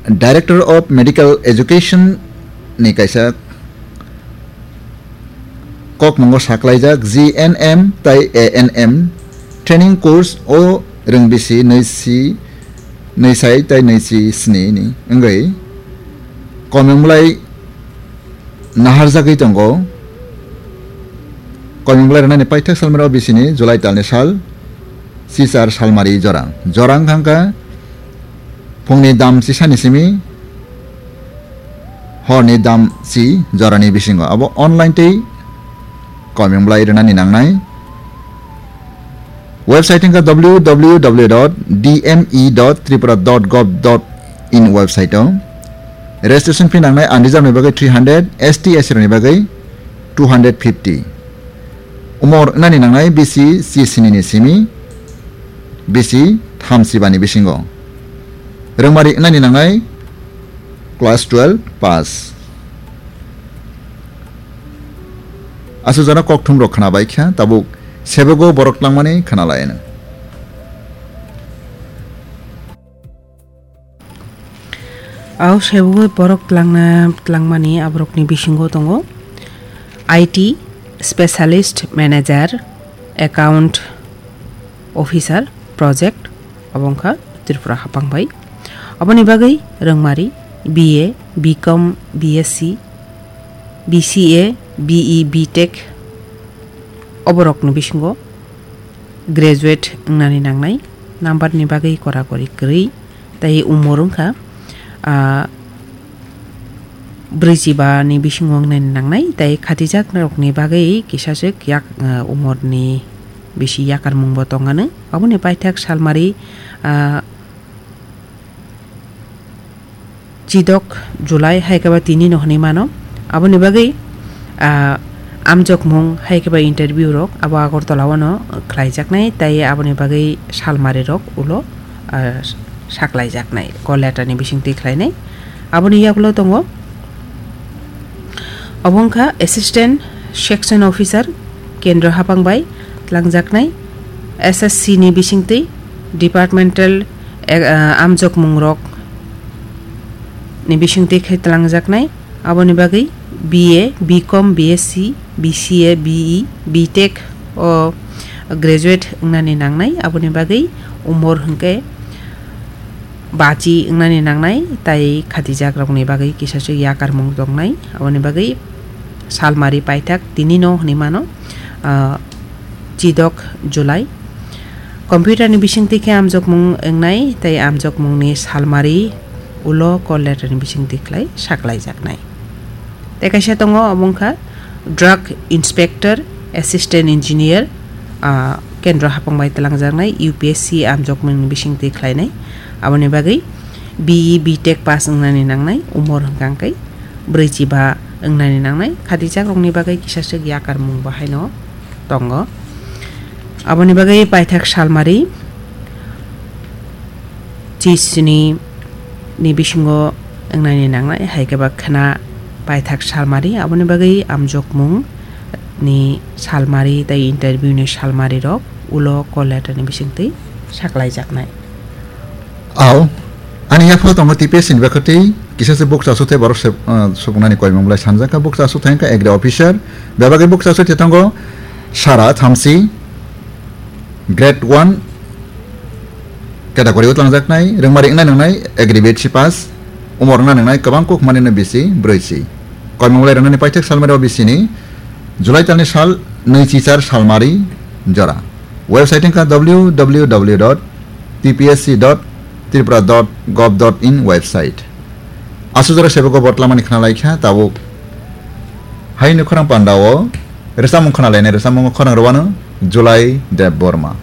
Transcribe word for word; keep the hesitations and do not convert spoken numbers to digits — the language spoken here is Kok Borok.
Director of Medical Education ni kaisa kokmungo saklaijak G N M tai A N M training course o rwngbisi nwi si, nwi sai tai nwi si sni ni wngwi Koimung Blai naharjagwi tongo. Koimung Blai rwnani paithak salmani o bisini July talni sal, chichar salmari jora. Jora wngkha phungni dam chisani simi horni dam chi jorani bisingo. Abo online tei Koimung Blai rwnani nangnai. Website wngkha W W W dot D M E dot tripura dot gov dot in website o. Registration fee nangnai unreserved ni bagwi three hundred, S T, S C rokni bagwi two hundred fifty. Umor wngnani nangnai bisi chisini ni simi bisi thamsibani bisingo. Rwngmari wngnani nangnai class twelve pass. Aswk jora kokthum rok khwnabai kha, tabuk sebego borok tlangmani khwnalaino. Au sebego borok tlangna, tlangmani aborokni bisingo tongo I T specialist manager, account officer, project, obo wngkha Tripura hapang bai. Aboni bagwi rwngmari B A, B Com, B S C, B C A, B E, B Tech oborokni bisingo graduate wngnani nangnai, number ni bagwi kora kori kwrwi, tei umor wngkha, ah, brwichiba ni bisingo wngnani nangnai, tei khatijak rokni bagwi kisaswk yak, ah, umor ni bisi yakarmung bo tongano. Aboni paithak salmari, ah, chidok July hai khe ba tini no hwnwi mano. Aboni bagwi, ah, amjokmung hai khe ba interview rok abo Agartala o no khlaijaknai, tei aboni bagwi salmari rok ulo, ah, saklaijaknai, call letter ni bisingtwi khlainai. Aboni yagulo tongo, obo wngkha Assistant Section Officer, Kendro hapang bai tlangjaknai, S S C ni bisingtwi departmental, eh, ah, amjokmung rok ni bisingtwi khe tlangjaknai. Aboni bagwi B A, B Com, B S C, B C A, B E, B Tech o graduate wngnani nangnai. Aboni bagwi umor hwnkhe bachi wngnani nangnai, tai khatijak rokni bagwi kisaswk yakarmung tongnai. Aboni bagwi salmari paithak tini no hwnwi mano, ah, chidok July. Computer ni bisingtwi khe amjokmung wngnai, tei amjokmungni salmari ulo call letter ni bisingtwi khlai saklaijaknai. Tei kaisa tongo, obo wngkha Drug Inspector, Assistant Engineer, ah, Kendro hapang bai twlangjaknai, U P S C amjokmungni bisingtwi khlainai. Aboni bagwi B E, B Tech pass wngnani nangnai, umor hwnkha hwnkhe brwichiba wngnani nangnai. Khatijak rokni bagwi kisaswk yakarmung bo haino tongo. Aboni bagwi paithak salmari chisni ni bisingo wngnani nangnai, hai khe ba khwna paithak salmari. Aboni bagwi amjokmung ni salmari tei interview ni salmari rok ulo call letter ni bisingtwi saklaijaknai. Au, ani yaphalo tongo T P S C ni bakhwtwi kisa se bukcha aswk thai borok se, ah, sukunani koimung belai sanjak kha. Bukcha aswk thai wngkha agri officer, bebagwi bukcha aswk thai tongo sara thamsi, grade one category o twlangjaknai, rwngmari wngnai nwngnai agri B S C pass, umor wngnai nwngnai kwbang kuk manino bisi brwichi. Koimung belai rwnani paithak salmari o bisini July talni sal nwi chichar salmari jora. Website wngkha W W W dot T P S C dot tripura dot gov dot in website. Aswk jora sebego botlamani khna lai kha tabuk. Haini khorang panda o rwchapmung khna lainai, rwchapmungo khorang rwano July Debbarma.